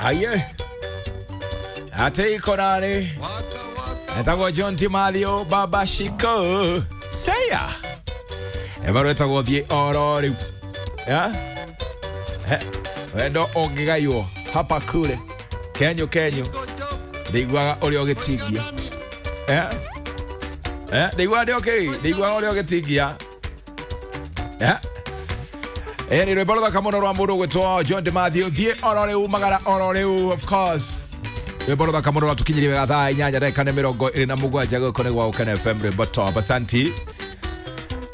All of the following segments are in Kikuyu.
Aye. Ate iko nani? Etagwo John Timathio Baba Shiko. Seya. Ebaro etagwo thie oro riu. Ya? Wendo ũngĩgaywo hapa kule. Kenyo kenyo. Ndiguaga ũrĩa ũgĩtingia. Eh? Eh, ndiguaga ndĩ okay. Ndiguaga ũrĩa ũgĩtingia. Eh? Ĩ rwĩmbo rũthaka mũno rwa mũndũ ũgwĩtwo John Timathio thiĩ oro rĩu magara oro rĩu of course. Rwĩmbo rũthaka mũno rwatũkinyirie wega thaa 8:27 gũkũ nĩ gwa Gũkena FM rwĩmbo top. Asanti.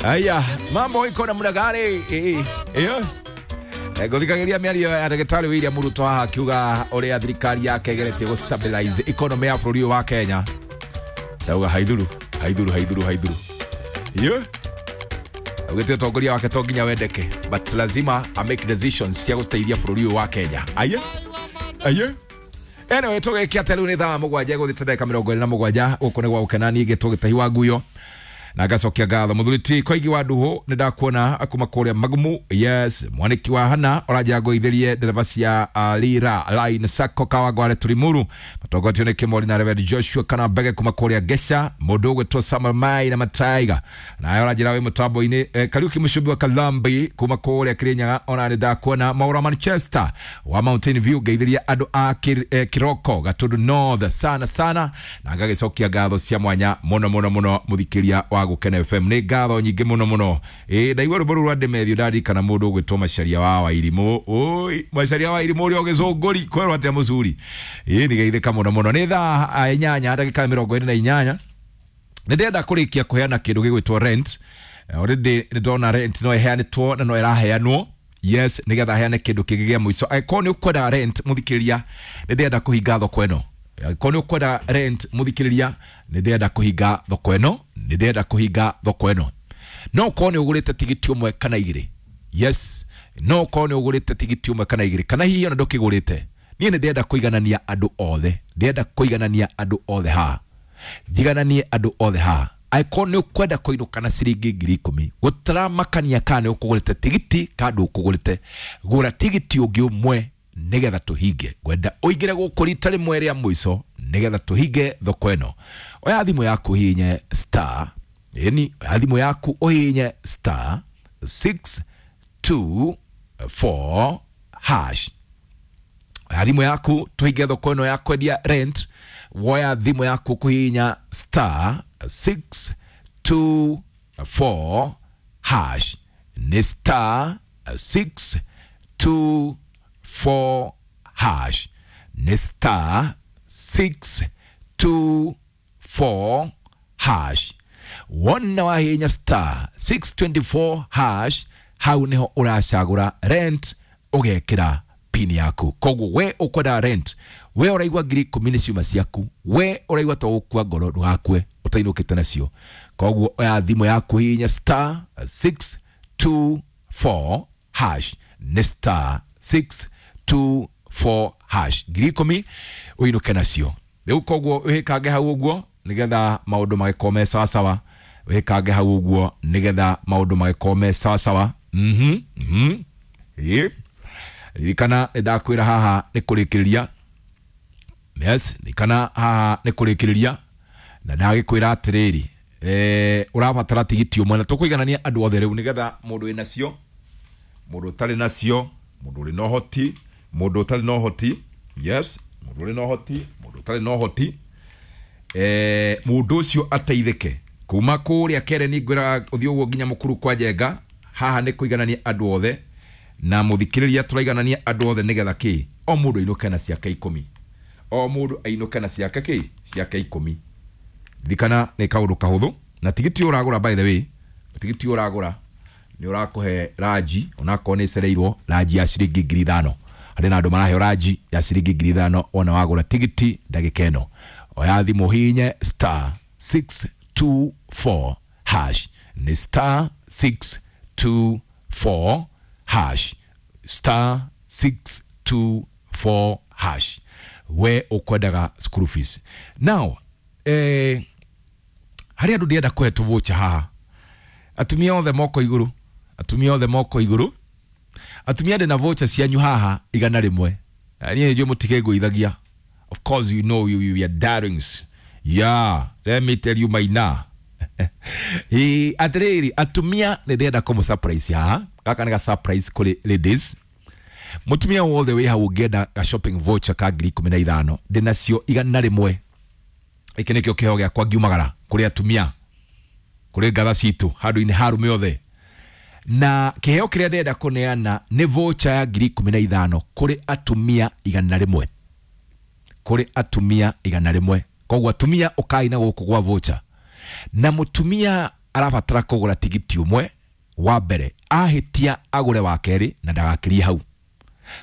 Aya, mambo iko namna gani? Iyo. Ngũthikagĩria mĩario ya ndagĩtarĩ William Ruto haha akiuga ũrĩa thirikari yake ĩgeretie gũ stabilize economy ya bũrũri ũyũ wa Kenya. Ndauga haithuru, haithuru, haithuru, haithuru. Iyo. Augĩte ũtongoria wake to nginya wendeke, but lazima a make decisions cia gũteithia bũrũri ũyũ wa Kenya. Aye. Aye. Anyway, tũgĩkia atĩa rĩu nĩ thaa 7 gũthiĩte ndagĩka 27 gũkũ nĩ gwa Gũkena niĩ ngĩtwo Gĩtahi wa Nguyo na ngacokia ngatho mũthuri ti Koigi wa Nduhu nĩ ndakuona kuma kũrĩa Magumu. Yes, mwaniki wa Hana ũranjĩra ngũithĩrie ndereba cia Lira Line Sacco Kawangware Turimuru matongotio nĩ Kĩmori na Reverend Joshua kana Mbege kuma kũrĩa Gesha mũndũ ũgwĩtwo Samuel Mai na Mataiga naye ũranjĩra wĩ mũtambo-inĩ Kariuki Mũcumbi wa Kalambi kuma kũrĩa Kirinyaga ona nĩ ndakuona Maura Manchester wa Mountain View ngeithĩria andũ a Kiroko Gatundu North sana sana na ngagĩcokia ngatho cia mwanya mũno mũno mũno mũthikĩria wa Gũkena FM nĩ ngatho nyingĩ mũno mũno. Ĩ ndaigua rwĩmbo rũu rwa Ndemethio ndarikana mũndũ ũgwĩtwo Macharia wa Wairimũ. Oi, Macharia wa Wairimũ ũrĩa ũgĩcũngũri kwerwo atĩa mũcuri. Ĩ nĩgeithĩka mũno mũno. Nĩ thaa 8:48 nĩ ndĩrenda kũrĩkia kũheana kĩndũ gĩgwĩtwo rent. Already nĩ ndona rent no ĩheanĩtwo na no ĩraheanwo. Yes, nĩgetha heane kĩndũ kĩngĩ gĩa mũico. Angĩkorwo nĩ ũkwenda rent mũthikĩrĩria, nĩ ndĩrenda kũhinga thoko ĩno. Angĩkorwo nĩ ũkwenda rent mũthikĩrĩria, nĩ ndĩrenda kũhinga thoko ĩno, nĩ ndĩrenda kũhinga thoko ĩno. No ũkorwo nĩ ũgũrĩte tigiti ũmwe kana igĩrĩ. Yes, no ũkorwo nĩ ũgũrĩte tigiti ũmwe kana igĩrĩ kana hihi ona ndũkĩgũrĩte. Niĩ nĩ ndĩrenda kũiganania andũ othe, ndĩrenda kũiganania andũ othe haha. Njigananie andũ othe haha. Angĩkorwo nĩ ũkwenda kũinũka na ciringi 10,000 gũtaramakania kana nĩ ũkũgũrĩte tigiti kana ndũkũgũrĩte, gũra tigiti ũngĩ ũmwe nĩgetha tũhinge. Ngwenda ũingĩre gũkũ rita rĩmwe rĩa mũico nĩgetha tũhinge thoko ĩno. Oya thimũ yaku ũhihinye star, ĩni, oya thimũ yaku ũhihinye star 624 hash. Oya thimũ yaku tũhinge thoko ĩno ya kwendia rent. Woya thimũ yaku kũhihinya star 624 hash. Nĩ star 624 hash. Nĩ star 624 hash. Wona wahihinya star 624 hash, hau niho ũracagũra rent ũgekĩra pin yaku. Koguo we ũkwenda rent, we ũraigua 10,000 nĩ ciuma ciaku, we ũraigua to gũkua ngoro ndũgakue ũtainũkĩte nacio. Koguo oya thimũ yaku hihinya star 624 hash. Nĩ star 624 hash. 10,000 ũinũke nacio. Rĩu koguo wĩkange hau ũguo nĩgetha maũndũ magĩkorwo me sawasawa. Wĩkange hau ũguo nĩgetha maũndũ magĩkorwo me sawasawa. Ĩ ririkana nĩ ndakwĩra haha nĩ kũrĩkĩrĩria. Yes, ririkana haha nĩ kũrĩkĩrĩria na ndagĩkwĩra atĩrĩrĩ, ũrabatara tigiti ũmwe na tũkũiganania andũ othe rĩu nĩgetha mũndũ wĩ nacio, mũndũ ũtarĩ nacio, mũndũ ũrĩ na ũhoti, mũndũ ũtarĩ na ũhoti. Yes, mũndũ ũrĩ na ũhoti, mũndũ ũtarĩ na ũhoti, mũndũ ũcio ateithĩke kuma kũrĩa Kereni ngwĩraga ũthiĩ ũguo nginya Mũkuru kwa Njenga. Haha nĩ kũiganania andũ othe na mũthikĩrĩria tũraiganania andũ othe nĩgetha kĩ o mũndũ ainũke na ciake 10, o mũndũ ainũke na ciake kĩ ciake 10. Ririkana nĩ kaũndũ kahũthũ na tigiti ũragũra, by the way, tigiti ũragũra nĩ ũrakũhe ranji onakorwo nĩ ĩcereirwo ranji ya ciringi 5,000. Harĩ na andũ maraheo ranji ya ciringi 5,000 wona wagũra tigiti ndagĩka ĩno. Oya thimũ hihinye star 624 hash. Nĩ star 624 hash. Star 624 hash. We ũkwendaga school fees. Now, harĩ andũ ndĩrenda kũhe tũvoucher haha. Atumia othe moko igũrũ, atumia othe moko igũrũ. Atumia ndĩna voucher cianyu haha 100. Niĩ nĩnjũĩ mũtikĩngũithagia. Of course you know you are darlings. Yeah, let me tell you Maina. Atĩrĩrĩ atumia nĩ ndĩrenda kũmũ surprise haha. Gaka nĩ ga surprise kũrĩ ladies. Mũtumia wothe wĩ hau ũngĩenda ga shopping voucher ka 15,000 ndĩnacio 100. Gĩkĩ nĩkĩo kĩheo gĩakwa ngiumagara kũrĩ atumia, kũrĩ ngatha citũ handũ-inĩ ha arũme othe. Na kĩheo kĩrĩa ndĩrenda kũneana nĩ voucher ya 15,000 kũrĩ atumia 100. Kũrĩ atumia 100. Koguo atumia ũkai na gũkũ gwa voucher. Na mũtumia arabatara kũgũra tigiti ũmwe wa mbere, ahĩtia agũre wa kerĩ na ndagakĩrie hau.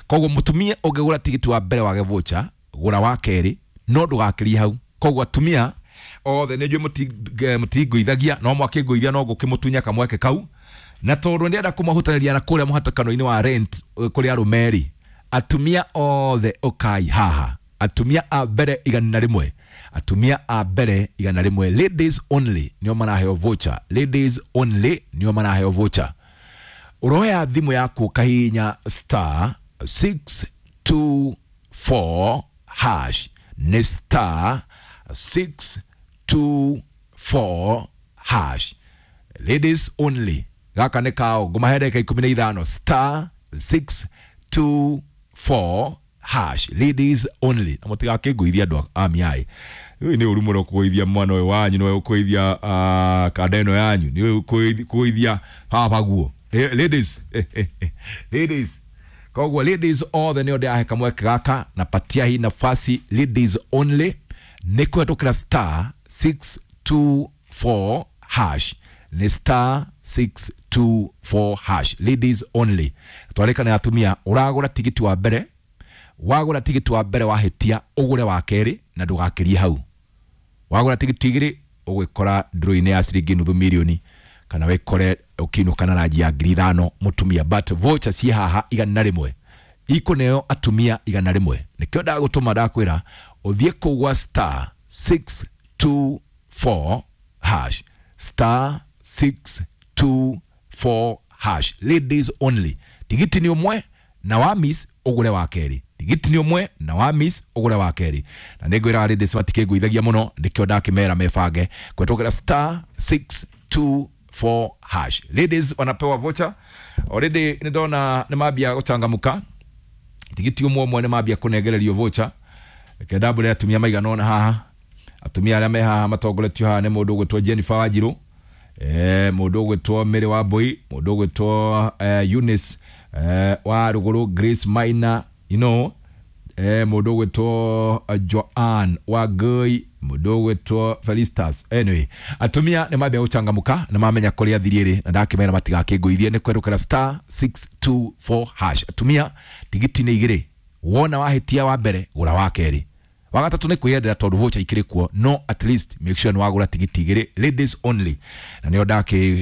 Koguo mũtumia ũngĩgũra tigiti wa mbere wage voucher, gũra wa kerĩ no ndũgakĩrie hau. Koguo atumia othe nĩ njũĩ mũtingũithagia, no mwakĩngũithia no ngũkĩmũtunya kamweke kau. Na tondũ ndĩrenda kũmahutanĩria na kũrĩa mũhatĩkano-inĩ wa rent kũrĩ arũme rĩ, atumia othe ũkai haha. Atumia a mbere 100. Atumia a mbere 100. Ladies only nĩo maraheo voucher. Ladies only nĩo maraheo voucher. Ũroya thimũ yaku ũkahihinya star 624 hash. Nĩ star 624 hash. Ladies only. Gaka nĩ kao ngũmahe ndagĩka 15. Star 624 hash. Ladies only. Na mũtigakĩngũithia andũ a miai. Rĩu nĩ ũru mũno kũgũithia mwana ũyũ wanyu, nĩwe ũkũgũithia kanda ĩno yanyu, nĩwe ũkũgũithia baba guo. Ladies, ladies. Koguo ladies othe nĩo ndĩrahe kamweke gaka na patia hii nafasi ladies only nĩ kũhetũkĩra star 624 hash. Nĩ star 624 hash. Ladies only. Twarĩkana atumia ũragũra tigiti wa mbere, wagũra tigiti wa mbere wahĩtia ũgũre wa kerĩ na ndũgakĩrie hau. Wagũra tigiti igĩrĩ ũgwĩkora draw-inĩ ya ciringi nuthu mirioni kana wĩkore ũkĩinũka na ranji ya 5,000 mũtumia. But voucher ciĩ haha 100 ikũneo atumia 100. Nĩkĩo ndagũtũma ndakwĩra ũthiĩ kũu gwa star 624 hash. Star 624 hash. Ladies only. Tigiti nĩ ũmwe na wa miss ũgũre wa kerĩ. Tigiti nĩ ũmwe na wa miss ũgũre wa kerĩ. Na nĩngwĩra ladies matikĩngũithagia mũno, nĩkĩo ndakĩmera mebange kũhetũkĩra star 624 hash. Ladies wanapewa voucher. Already nĩ ndona nĩ mambia gũchangamka. Tigiti ũmwe ũmwe nĩ mambia kũnengererio voucher. Reke ndambũre atumia maigana ũna haha. Atumia arĩa me haha matongoretio haha nĩ mũndũ ũgwĩtwo Jennifer Wanjirũ, mũndũ ũgwĩtwo Mary Wambui, mũndũ ũgwĩtwo Eunice wa Rũgũrũ, Grace Maina, you know, mũndũ ũgwĩtwo Joanne wa Ngũi, mũndũ ũgwĩtwo Felistas. Anyway, atumia nĩ mambia gũchangamũka, nĩ mamenya kũrĩa thiri ĩrĩ na ndakĩmera matigakĩngũithie nĩ kwerũkĩra star 624 hash. Atumia tigiti nĩ igĩrĩ, wona wahĩtia wa mbere gũra wa kerĩ, wa gatatũ nĩ kwĩyendera tondũ voucher ikĩrĩ kuo, no at least make sure nĩ wagũra tigiti igĩrĩ ladies only. Na nĩo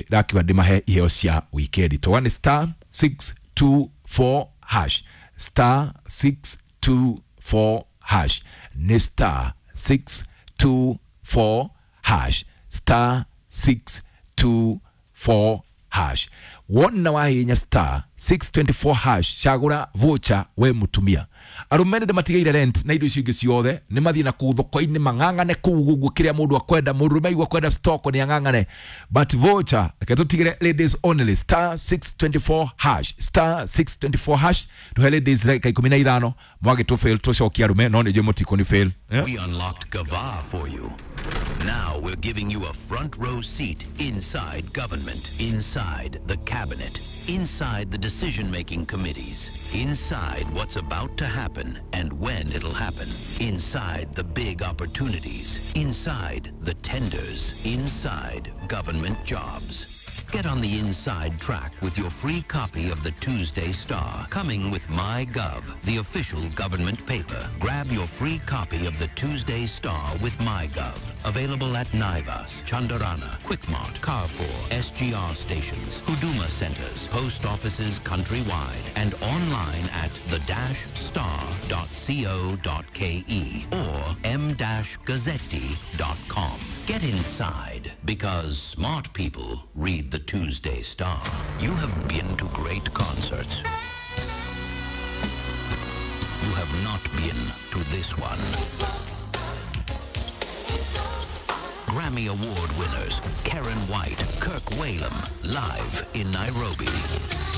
ndakiuga ndĩmahe iheo cia weekend. Toga nĩ star 624 hash. Star 624 hash. Nĩ star 624 hash. Star 624 hash. Wona wahinya star 624 hash cagũra voucher we mũtumia. Arũme nĩ matigaire rent na indo icio ingĩ ciothe nĩ mathiĩ na kũu thoko-inĩ mang'ang'ane kũu ũguo kĩrĩa mũndũ akwenda, mũndũrũme aigua kwenda stock nĩ ang'ang'ane, but voucher reke tũtigĩre ladies only. Star 624 hash. Star 624 hash. Tũhe ladies ndagĩka 15 mwagĩtũ fail tũcokie arũme, no nĩ njũĩ mũtikũni fail. We unlocked Gava for you. Now we're giving you a front row seat inside government, inside the cabinet, inside the decision-making committees, inside what's about to happen and when it'll happen, inside the big opportunities, inside the tenders, inside government jobs. Get on the inside track with your free copy of the Tuesday Star, coming with MyGov, the official government paper. Grab your free copy of the Tuesday Star with MyGov. Available at Naivas, Chandarana, Quickmart, Carrefour, SGR stations, Huduma centers, post offices countrywide, and online at the-star.co.ke or m-gazzetti.com. Get inside, because smart people read the Tuesday Star. You have been to great concerts. You have have not been to this one. Grammy Award winners Karen White, Kirk Whalum, live in Nairobi.